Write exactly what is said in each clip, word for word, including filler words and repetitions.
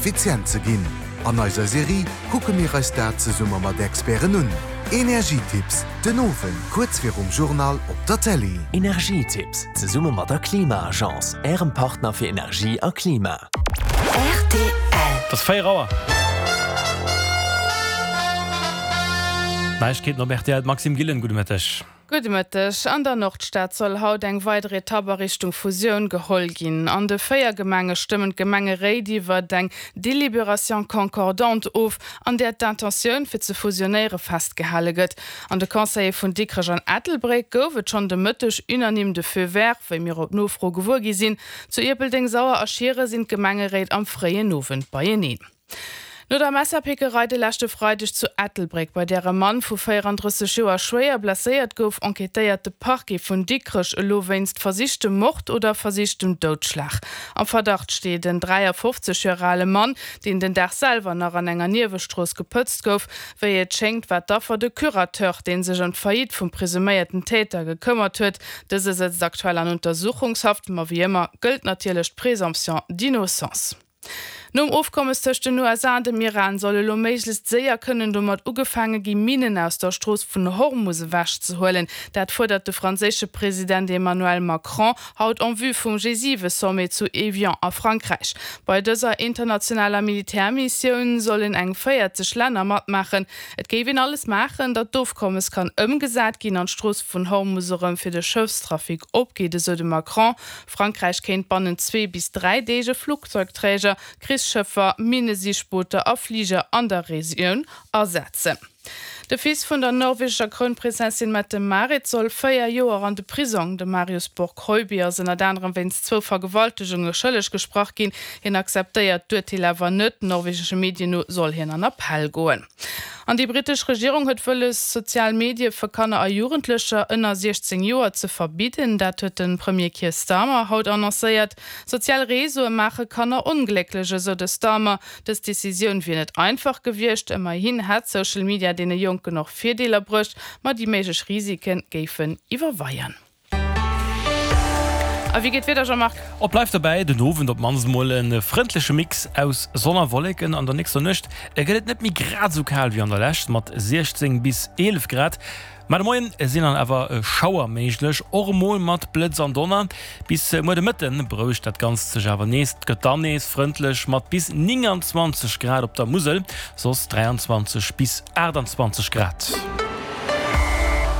effizient ze ginn? An eiser Serie kucke mir eis dat zesumme mat Experten un. Energietipps, den Owend kuerz virum Journal op der Télé. Energietipps, zesumme mat der Klima-Agence, Ärem Partner fir Energie a Klima. Rtl. Et ass véier Auer. Neiegkeeten op rtl, d'Maxime Gillen, gudde Mëtteg. Gudde Mëtteg. An der Nordstad soll haut eng weider Etapp a Richtung Fusioun geholl ginn. An de véier Gemenge stëmmen d'Gemengeréit iwwert eng Délibération concordante of, an där d'Intentioun fir ze fusionéiere festgehale gëtt. An de Conseile vun Dikrech an Ettelbréck gouf et schonn de Mëtteg unanime de Feu vert, wéi mir op Nofro gewuer gi sinn. Zu Ierpeldeng, Sauer a Schieren sinn d'Gemengeréit am fréien Owend beieneen. No der Messerpickerei de leschte Freideg zu Ettelbréck, bei där e Mann vu véierandrësseg Joer schwéier blesséiert gouf, enquêtéiert de Parquet vun Dikrech elo wéinst versichtem Mord oder versichtem Doudschlag. Am Verdacht steet en dräiafofzeg Joer ale Mann, deen den Dag selwer nach an enger Niewestrooss gepëtzt gouf. Wéi et schéngt, war d'Affer de Curateur, dee sech ëm d'Faillite vum presuméierten Täter gekëmmert huet. Dëse sëtzt aktuell an Untersuchungshaft, ma wéi ëmmer gëllt natierlech d'Présomption d'innocence. Nom Ofkommes tëscht den U S A an dem Iran soll elo méiglechst séier kënnen domat ugefaange gi Minnen aus der Strooss vun Hormus ewechzehuelen. Dat fuerdert de franséische President Emmanuel Macron haut en vue vum G siwe Sommet zu Evian a Frankräich. Bei dëser internationaler Militärmissioun sollen eng véierzeg Länner matmaachen. Et géif een alles maachen, datt d'Ofkommes kann ëmgesat ginn an d'Strooss vun Hormus erëm fir de Schëffstrafic opgeet, esou de Macron. Frankräich kéint bannent zwee bis dräi Deeg e Flugzeugträger, Krichsschëffer, Minnesichbooter a Fliger an der Regioun asetzen. De Fils vun der norwegescher Krounprinzessin Mette-Marit soll véier Joer an de Prisong. De Marius Borg Høiby ass ënnert anerem wéinst zwou Vergewaltegunge schëlleg gesprach ginn. Hien akzeptéiert d'Urteel awer net. Norwegesche Medien no soll hien an Appell goen. An déi brittesch Regierung huet wëlles, sozial Medie fir Kanner a Jugendlecher ënner siechzéng Joer ze verbidden. Dat huet de Premier Keir Starmer haut annoncéiert. Sozial Reseaue maache Kanner onglécklech, esou de Starmer. Dës Decisioun wier net einfach gewiescht. Ëmmerhin hätt Social Media deene Jonken och Virdeeler bruecht, ma déi méiglech Risike géifen iwwerweien. A wéi geet d'Wieder, Jean-Marc? Et bleift dobäi, den Owend op d'mannst mol e frëndleche Mix aus Sonn a Wolleken. An der nächster Nuecht gëtt et net méi grad esou kal wéi an der Lescht mat siechzéng bis eelef Grad. Ma de Moien sinn dann awer Schauer méiglech, och emol mat Blëtz an Donner. Bis muer de Mëtte berouegt dat Ganzt sech awer nees. Et gëtt dann nees frëndlech mat bis nénganzwanzeg Grad op der Musel, soss dräianzwanzeg bis aachtanzwanzeg Grad.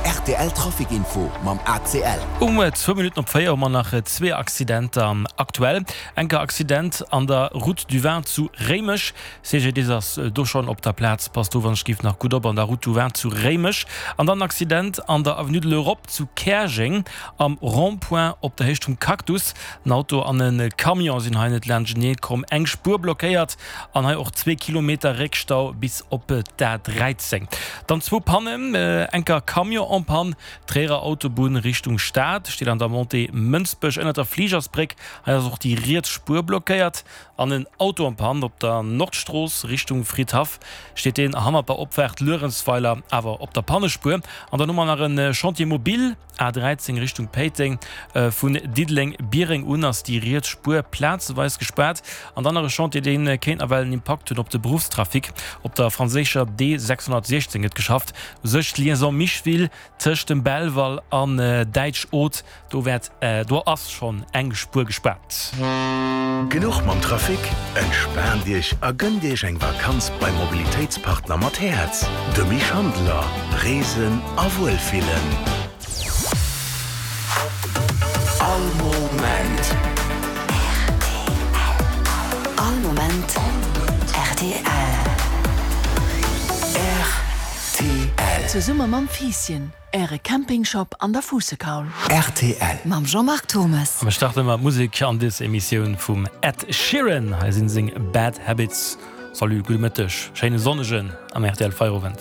Rtl Trafic Info mam A C L. Um zwou Minutten op véier hu mer nach zwee Accidenter aktuell. Enker Accident an der Route du Vin zu Réimech. C G D I S ass do schonn op der Plaz. Passt do wann ech giff nach gutt op an der Route du Vin zu Réimech. An dann Accident an der Avenue de l'Europe zu Käerjeng am Rond-point op der Héicht vum Cactus. En Auto an e Camion sinn hei net laanschtenee komm. Eng Spuer blockéiert an hei och zwee Kilometer Réckstau bis op d'A dräizéng. Dann zwou Pannen, enker Camion en panne, Tréierer Autobunn Richtung Stad, steet an der Montée Mënsbech ënnert der Fligersbréck, hei ass och déi riets Spuer blockéiert. An en Auto en panne op der Nordstrooss Richtung Fridhaff, steet deen hannert der Opfaart Luerenzweiler awer op der Pannespuer. An dann hu mer nach e Chantier mobile, A dräizéng Richtung Péiteng, vun Diddeleng-Biereng un ass déi riets Spuer plazeweis gespaart. An dann nach e Chantier, dee kéint nawell en Impakt hunn op de Beruffstrafic. Op der franséischer D sechshonnertsiechzéng gëtt geschafft, u sech d'Liaison Micheville tëscht dem Belval an Däitsch-Oth, do wäert, do ass schonn eng Spuer gespaart. Genuch mam Trafic? Entspaant Iech a gënnt Iech eng Vakanz beim Mobilitéitspartner mat Häerz, de Misch Handeler. Reesen a Wuelfillen. All Moment. All Moment R T L. R T L. Zesumme mam Fiisschen, äre Campingshop an der Fuussekaul. R T L. Mam Jean-Marc Thomas. Mir starte mat Musek an dës Emissioun vum Ed Sheeran. Hei sinn seng Bad Habits. Salut, gudde Mëtteg, schéine sonnegen am R T L Feierowend.